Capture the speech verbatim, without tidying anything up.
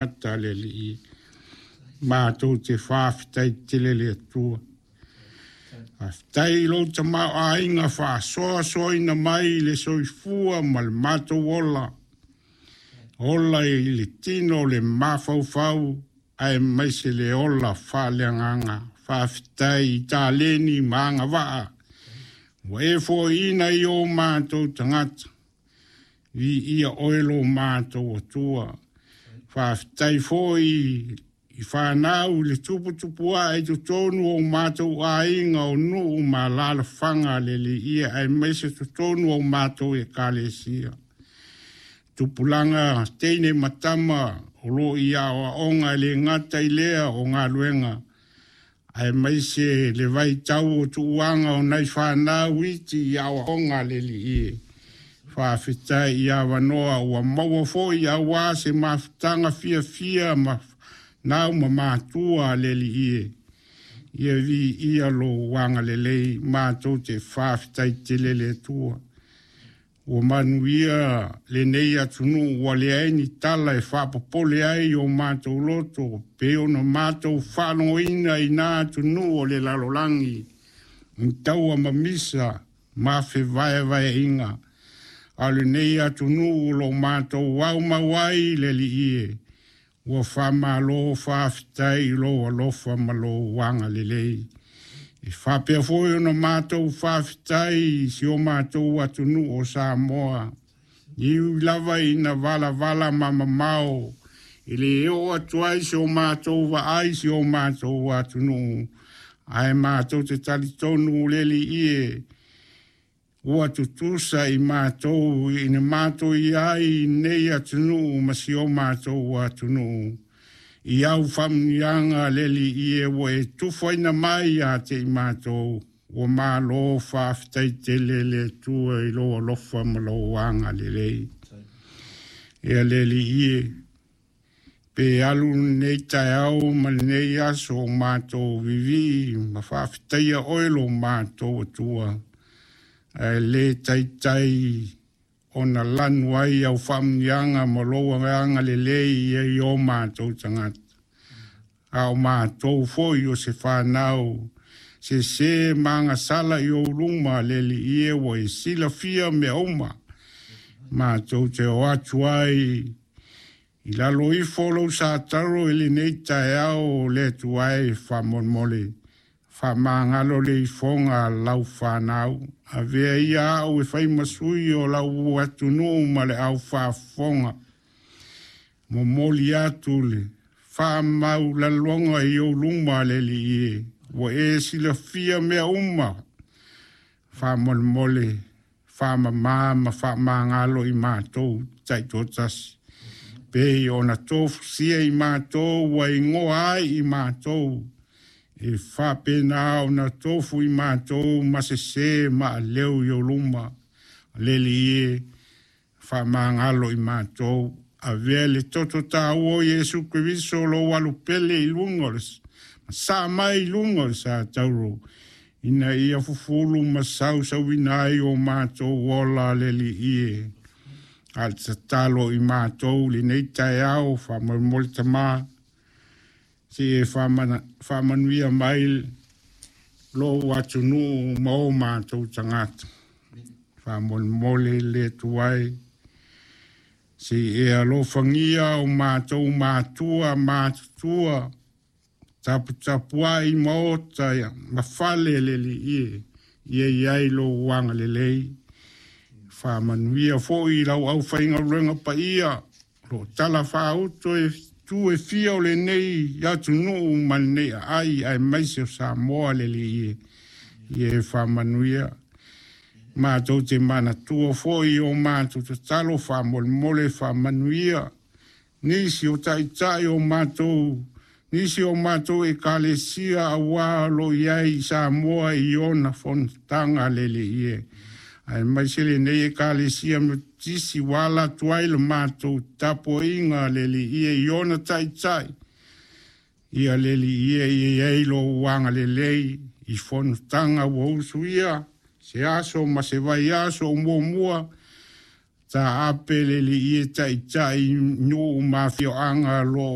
Tagata le Alii, matou te faafetai tele i le Atua. Faafetai i lou tamaoaiga faasoasoaina mai i le soifua ma le matou ola, ola i le tino o le mafaufau aemaise le ola faaleagaga. Faafetai i taleni ma agavaa ua e foaiina i o matou tagata. Viia oe lo matou Atua. Faafetai foi i fanau i le tuputupuae i totonu o matou aiga o nuu ma alaalafaga le Alii, aemaise totonu o matou ekalesia. Tupulaga teine ma tama o lo o i aoaoga e le gata i lea o galuega, aemaise le vaitau o tuuaga o nai fanau iti i aoaoga a le Alii. Faafetai i avanoa ua maua foi aua se mafutaga fiafia ma nau ma matua a le Alii. Ia viia lou agalelei, matou te faafetai tele le Atua. Ua manuia lenei atunuu, ua leai ni tala e faapopole ai o matou loto, pei ona matou faalogoina i na atunuu o le lalolagi, i taua ma misa ma fevaevaeaiga. A o lenei atunuu o lo o matou aumau ai le Alii, ua faamalo faafetai i lou alofa ma lou agalelei. E faapea foi ona matou faafetai i si o matou atunuu o Samoa, e ui lava ina valavala ma mamao, e le oo atu ai si o matou vaai i si o matou atunuu, ae matou te talitonu le Alii e ua tutusa i matou ina matou i ai i nei atunuu ma si o matou atunuu. I au faamanuiaga le Alii ua e tufaina mai ia te i matou, ua malo faafetai tele le Atua i lou alofa ma lou agalelei. Ia le Alii e, pe alu lenei taeao ma lenei aso o matou vivii ma faafetaia oe lo matou Atua, ae le taitai ona lanu ai au faamanuiaga ma lou agalelei i o matou tagata. A o matou foi o se fanau sese ma agasala i ou luma, le Alii e, ua e silafia mea uma. Matou te o atu ai i lalo ifo o lou sataro i lenei taeao, le Atua e, faamolemole faamagalo le ifoga a lau fanau. Avea ia au e fai ma sui o lau atunuu ma le aufaafofoga. Momoli atu le faamaualaloga i ou luma, le Alii e, ua e silafia mea uma. Faamolemole faamama ma faamagalo i matou taitoatasi, pei ona tofusia i matou ua igoa ai i matou, e faapena ona tofu i matou ma sese ma aleu i ou luma. Le Alii e, faamagalo i matou. Avea le toto taua o Iesu Keriso lou alupele i luga o le saa mai i luga o le satauro, ina ia fufulu ma sausauina ai o matou ola, le Alii e. A le tatalo i matou lenei taeao, faamolemole Tamā, se e faamanuia mai lou atunuu ma o matou tagata. Faamolemole le Atua e, se e alofagia o matou matua matutua, taputapuai maota ma fale, le Alii e, ia i ai lou agalelei. Faamanuia foi i lau aufaigaluega paia o lo o talafaauto e tu e fia o lenei atunuu ma lenei aai, aemaise o Samoa, le Alii e, ia e faamanuia. Matou te manatua foi o matou tatalo, faamolemole faamanuia nisi o taitai o matou, nisi o matou ekalesia aua o lo o i ai i Samoa i ona fonotaga, le Alii e, aemaise lenei ekalesia Metotisi ua ala atu ai le matou tapuaiga, le Alii e, i ona taitai. Ia le Alii e, ia i ai lou agalelei i fonotaga ua usuia se aso ma se vaiaso o muamua. Taape le Alii e taitai nuu ma afioaga lo